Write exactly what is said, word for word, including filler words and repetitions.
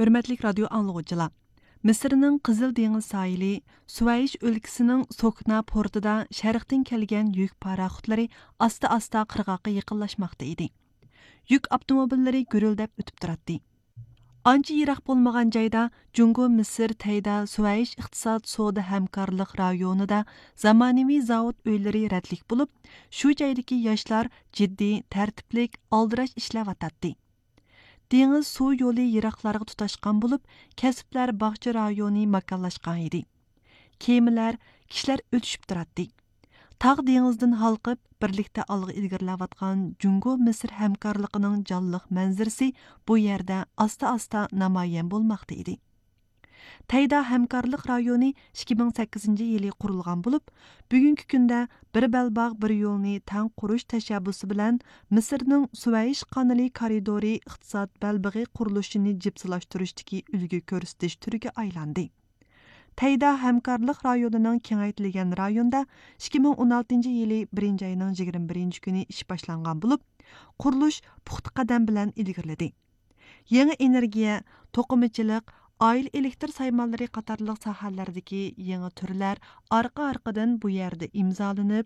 ھۆرمەتلىك رادىيو ئاڭلىغۇچىلار! مىسىرنىڭ قىزىل دېڭىز ساھىلى، سۇۋەيش ئۆلكىسىنىڭ سوكنا پورتىدا شەرقتىن كەلگەن يۈك پاراخوتلىرى ئاستا-ئاستا قىرغاققا يېقىنلاشماقتا ئىدى. يۈك ئاپتوموبىللىرى گۈرۈلدەپ ئۆتۈپ تۇراتتى. ئانچە يىراق بولمىغان جايدا جۇڭگو مىسىر تەيدا سۇۋەيش ئىقتىساد سودا ھەمكارلىق رايونىدا زامانىۋى زاۋۇت ئۆيلىرى رەتلىك بولۇپ، شۇ جايدىكى ياشلار جىددىي، تەرتىپلىك، ئالدىراش ئىشلەۋاتاتتى. دېڭىز سۇ يولى يىراقلارغا تۇتاشقان بولۇپ، كەسىپلەر باغچە رايونى ماكانلاشقان ئىدى. كېمىلەر، كىشىلەر ئۆتۈشۈپ تۇراتتى. تاغ دېڭىزدىن ھالقىپ، بىرلىكتە ئالغا ئىلگىرىلەۋاتقان جۇڭگو مىسىر ھەمكارلىقىنىڭ جانلىق مەنزىرىسى بۇ يەردە ئاستا-ئاستا نامايان بولماقتا ئىدى. تەيدا ھەمكارلىق رايونى ئىككى مىڭ سەككىزىنچى يىلى قۇرۇلغان بولۇپ، بۈگۈنكى كۈندە بىر بەلباغ، بىر يولنى تەڭ قۇرۇش تەشەببۇسى بىلەن مىسىرنىڭ سۇۋەيش قانىلى كارىدورى ئىقتىساد بەلبېغى قۇرۇلۇشىنى جىپسىلاشتۇرۇشتىكى ئۈلگە كۆرسىتىش تۈرىگە ئايلاندى. تەيدا ھەمكارلىق رايونىنىڭ كېڭەيتىلگەن رايوندا ئىككى مىڭ ئون ئالتىنچى يىلى بىرىنچى ئاينىڭ يىگىرمە بىرىنچى كۈنى ئىش باشلانغان بولۇپ، قۇرۇلۇش پۇختا قەدەم بىلەن ئىلگىرىلىدى. يېڭى ئېنېرگىيە، توقۇمىچىلىق، ئائىلە ئېلېكتر سايمانلىرى قاتارلىق ساھەلەردىكى يېڭى تۈرلەر ئارقا-ئارقىدىن بۇ يەردە ئىمزالىنىپ،